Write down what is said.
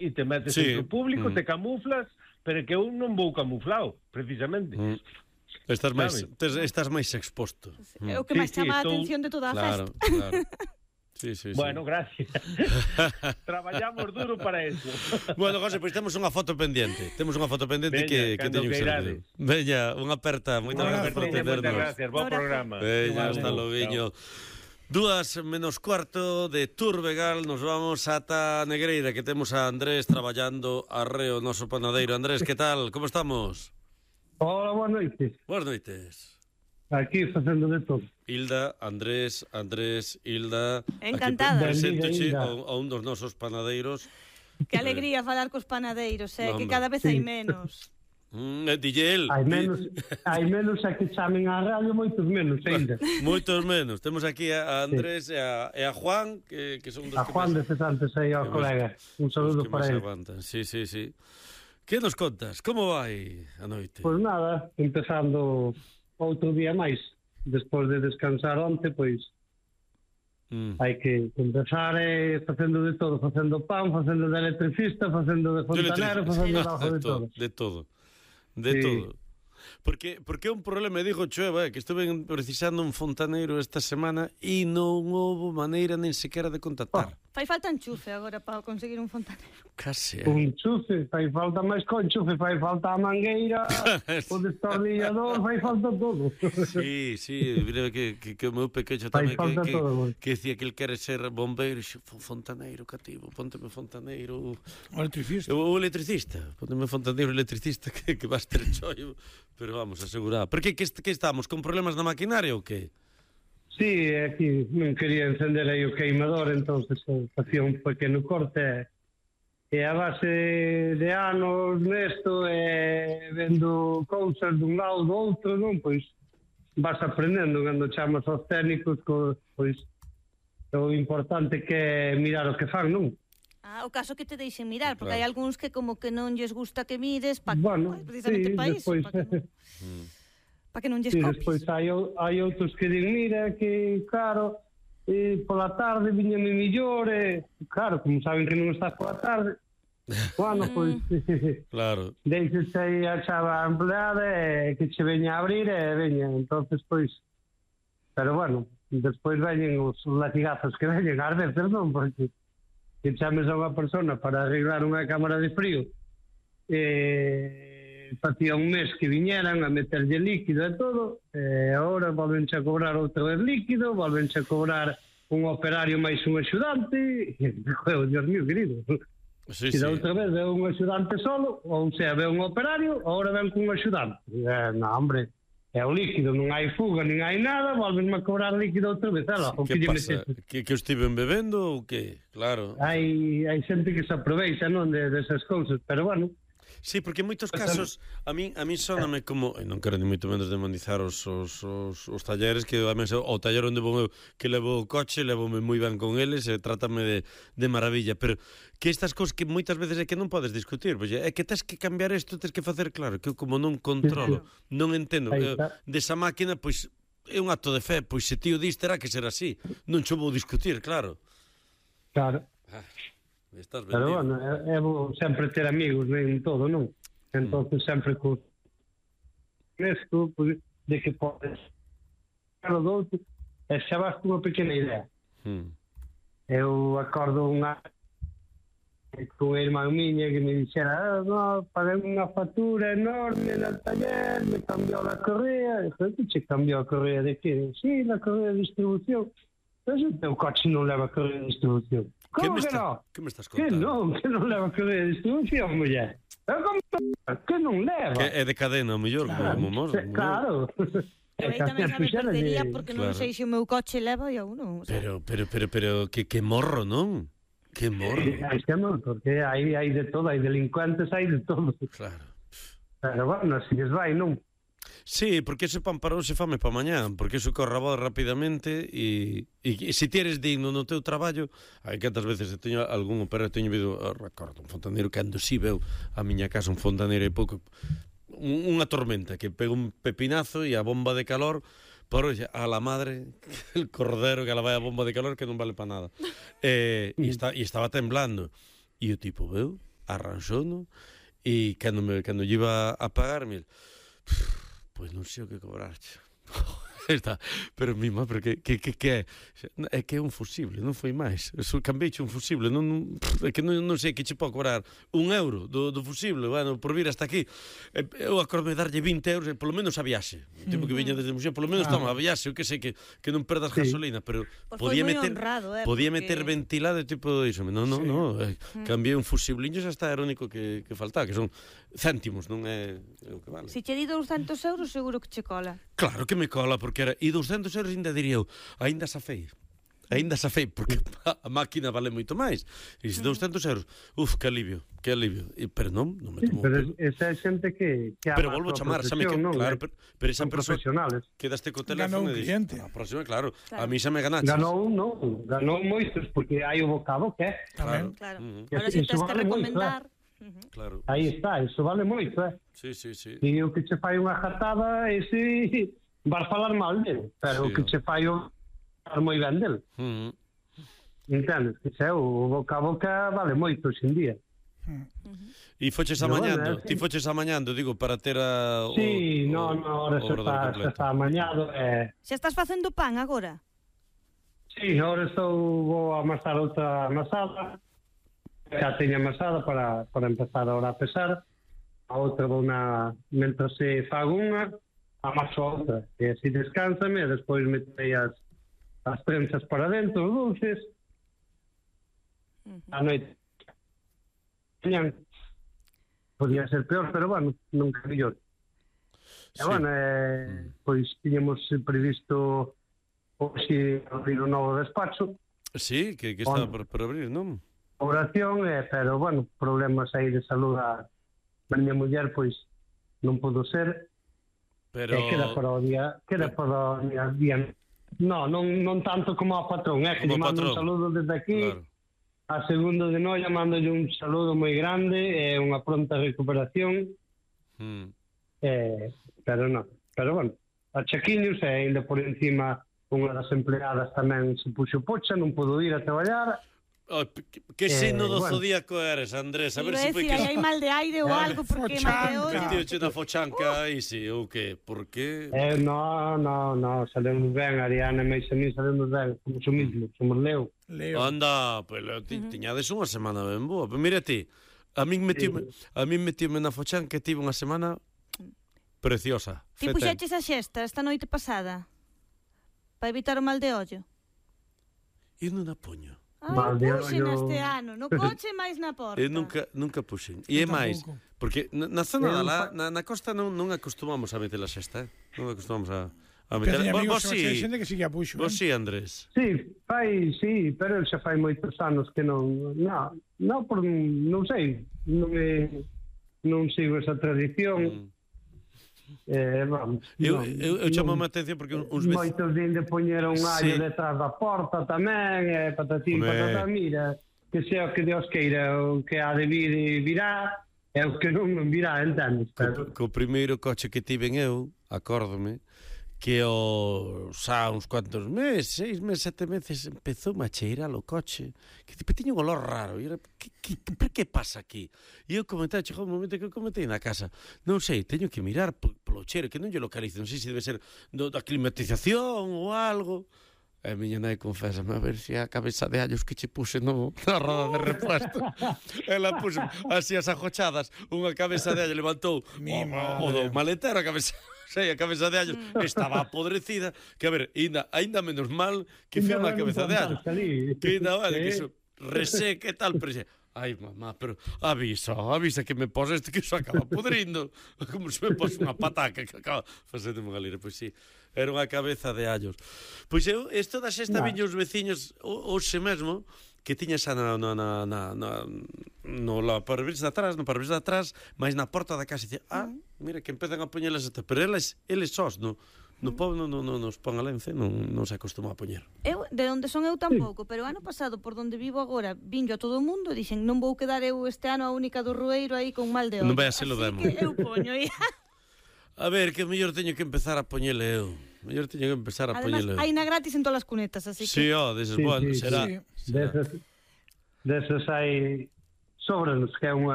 e te metes Sí. entre o público, te camuflas, pero que eu non vou camuflado, precisamente. Estás máis, Sabes? estás máis exposto. É o que máis Sí, chama a estou- atención de toda a Claro, festa. claro. Sí. Bueno, gracias. Traballamos duro para eso. Bueno, José, pois temos unha foto pendiente. Temos unha foto pendiente Veña, que cando teño que ser. queirades. Veña, unha aperta. Moitas gracias por Veña, moitas atendernos. gracias, bo Abrazo. programa. Veña, Vale. hasta loguiño. 2:15 de Turbegal, nos vamos ata Negreira, que temos a Andrés traballando arreo, noso panadeiro. Andrés, que tal? Como estamos? Hola, boas noites. Boas noites. Aquí facendo de todo. Hilda, Andrés, Hilda. Encantada. Preséntoche Benvida, a Hilda. un dos nosos panaleiros. Que alegría falar cos panadeiros, No, que hombre. cada vez hai menos. Dille el. Hai menos a que chamen á radio, moitos menos ainda. Moitos menos. Temos aquí a Andrés e a Juan, que son dos A Juan de Cesantes aí ao que colega. Un saludo que para máis ele. aguantan. Sí. Que nos contas? Como vai a noite? Pois nada, empezando outro día máis. Despois de descansar onte, pois hai que empezar facendo de todo, facendo pan, facendo de electricista, facendo de fontanero, facendo algo de todo. De todo. De Sí. todo. Porque é un problema, digo Choeva, que estuve precisando un fontaneiro esta semana e non houve maneira nin sequera de contactar. Fai falta enchufe agora para conseguir un fontanero. Case. Un chufe, fai falta máis con chufe, fai falta a mangueira, o destornillador, fai falta todo. Sí, mira que o meu pequeño Fai tamén falta todo, que decía que ele quere ser bombeiro, fontaneiro, cativo, pónteme fontaneiro. O electricista. O electricista, pónteme fontaneiro electricista que vas ter chollo, pero vamos, asegurado. Por que estamos, con problemas na maquinaria ou que? Sí, aquí non quería encender aí o queimador, entonces facía un pequeno corte e a base de anos nesto vendo cousas dun lado do outro, non? Pois vas aprendendo cando chamas aos técnicos, pois o importante que é mirar o que fan, non? O caso que te deixen mirar, porque Claro. hai algúns que como que non lles gusta que mires, Bueno, precisamente sí, para iso, despois para que non lles sí, copies. despois hai outros que din, mira, que claro, pola tarde viñame millor, claro, como saben que non estás pola tarde, bueno, pois Claro. deixes aí a chava empleada que che veña a abrir veña, entonces pois, pero bueno, despois veñen os latigazos que veñen ás veces, non, porque que chames a unha persona para arreglar unha cámara de frío facía un mes que viñeran a meterlle líquido e todo, agora volvenche a cobrar outra vez líquido, volvenche a cobrar un operario máis un axudante, Dios mío, querido. Sí, E da outra vez veo un axudante solo, ou sea, veo un operario, agora ven con un axudante. Non, hombre, é o líquido, non hai fuga, nin hai nada, volvenme a cobrar líquido outra vez. Que pasa? Que estiven bebendo ou que? Claro. Hai xente que se aproveita, non, desas cousas, pero bueno. Sí, porque en moitos casos a min sóname como, e non quero ni moito menos demonizar os talleres, que a mí, o taller onde vou eu, que levo o coche, levome moi ben con eles e trátame de maravilla, pero que estas cousas que moitas veces é que non podes discutir, pois é que tens que cambiar isto, tens que facer claro, que eu como non controlo, non entendo desa máquina, pois é un acto de fe, pois se tío dis terá que ser así, non cho vou discutir, claro. Claro. Estás vendido. Pero bueno, é bo sempre ter amigos en todo, non? Entonces sempre con esto, pues, de que podes o do outro, e xa vas con unha pequena idea. Eu acordo unha con a irmán miña que me dixera, no, paguei unha factura enorme no taller, me cambiou a correa. Dixo, que che cambiou a correa de que? Sí, la correa de distribución. Pero o teu coche non leva correa de distribución. Como que non? Que me estás contando? Que non leva correa de distribución, muller. Que non leva? Que é de cadena, o mellor, como mos. Claro. Eu aí tamén sabe perdería porque non sei se o meu coche leva e eu non. Pero que morro, non? Que morro. Hai que morro, porque hai de todo, hai delincuentes, hai de todo. Claro. Pero bueno, así les vai, non? Sí, porque ese pan para hoxe fame para mañá, porque eso corre a voz rapidamente e se ti eres digno no teu traballo, hai cantas veces teño algún operario, teño vido, recordo, un fontaneiro cando si veu a miña casa un fontaneiro e pouco unha tormenta que pega un pepinazo e a bomba de calor por a la madre el cordero que la vai a bomba de calor que non vale para nada e estaba temblando e o tipo veu arranxouno, e cando lle iba a pagarme, pois non sei o que cobrarche. Está, pero mima, pero que é? É que é un fusible, non foi máis. Cambeiche un fusible, é que non sei que che pode cobrar €1 do fusible, bueno, por vir hasta aquí. Eu acordei darlle 20 euros, polo menos a viaxe. O tipo que viña desde Muxía, polo menos toma a viaxe, eu que sei que non perdas gasolina, pero podía meter ventilado e tipo iso. Non, cambiei un fusibliño, xa está, era o único que faltaba, que son céntimos, non é o que vale. Se che di 200 euros, seguro que che cola. Claro que me cola, porque era, e 200 euros ainda diría eu, ainda safei, porque a máquina vale moito máis. E se 200 euros, que alivio. Pero non me tomou. Pero esa é xente que pero volvo a chamar, xa me claro, pero esa persoa quedaste co teléfono e dixo, a próxima, claro, a mí xa me ganaches. Ganou moitos, porque hai o bocado que é. Claro. Ahora se tens que recomendar. Claro. Aí está, iso vale moito, Sí. E o que che fai unha jatada, ese vas falar mal dele, pero o que che fai o moi ben dele. Entendes? Que xe, o boca a boca vale moito hoxe en día. E foches amañando, ti foches amañando, digo, para ter a... Sí, ahora xa está amañado. Xa estás facendo pan agora? Sí, agora vou a amasar outra amasada. Xa teño amasada para empezar ahora a pesar. A outra vou mentras se fago unha, amaso a outra. E así descansame, e despois metei as trenzas para dentro, os dulces. A noite. Podía ser peor, pero bueno, nunca mellor. E bueno, pois tiñamos previsto hoxe abrir un novo despacho. Sí, que está por abrir, non? Oración, pero, bueno, problemas aí de salud a miña muller, pois, non pudo ser. Pero... Queda para o día non tanto como a patrón, que lle mando un saludo desde aquí. Claro. A segundo de Noia mandolle un saludo moi grande e unha pronta recuperación. Pero bueno, a Chaquiños, e ainda por encima unha das empleadas tamén se puxo pocha, non pudo ir a traballar. Que signo do zodíaco eres, Andrés? A ver se foi que... hai mal de aire ou algo, porque mal de ollo. Metíoche na fochanca, aí si, ou que? Por que? No, sabemos ben, Ariana e a mí sabemos ben, somos o mismo, somos Leo. Anda, pues tiñades unha semana ben boa. Pero mira ti, a min metíome na fochanca e tive unha semana preciosa. Ti puxeches a xesta esta noite pasada para evitar o mal de ollo? Eu non a poño. Puxen este ano, no coche máis na porta. Eu nunca puxen. E é máis, porque na zona na costa non acostumamos a meter a xesta, non acostumamos a meter. Vos si, Andrés. Sí, pero xa fai moitos anos que non sei, non sigo esa tradición. Eu chamo a atención porque uns moitos din de poñer un allo detrás da porta tamén, patatín, patatá, mira, que sea o que Dios queira, o que ha de vir virá, e o que non virá, entendes? Co primeiro coche que tiven eu, acórdome, que xa uns cuantos meses, 6 meses, 7 meses, empezou a cheirar o coche, que tiña un olor raro, e era, por que pasa aquí? E eu comentei, chegou un momento que eu comentei na casa, non sei, teño que mirar polo cheiro, que non lle localizo, non sei se debe ser da climatización ou algo. E a miña nai confésame, a ver se a cabeza de allos que che puse na roda de repuesto. Ela puxo así as ajochadas, unha cabeza de allo levantou o do maletero, a cabeza de allo estaba apodrecida, que a ver, ainda menos mal que foi unha cabeza de allo. Que ainda vale, que iso reseca e tal, pero ai, mamá, pero avisa que me pos que iso acaba podrindo, como se me pos unha pataca que acaba facendo unha lira, pois sí. Era unha cabeza de allos. Pois eu, isto da xesta viña os veciños hoxe mesmo, que tiña xa no parabris de atrás, máis na porta da casa, e dicía, mira, que empezan a poñelas esta, pero eles sós, no povo non nos pon a lence, non se acostuma a poñer. Eu, de onde son eu tampouco, pero ano pasado, por donde vivo agora, vinho a todo o mundo, dixen, non vou quedar eu este ano a única do Rueiro aí con mal de ollo. Non vai a ser o demo. Así que eu poño, A ver, que mellor teño que empezar a poñele eu. Además, hai na gratis en todas as cunetas, así que... Sí, deses, bueno, será. Deses hai sobrenos, que é unha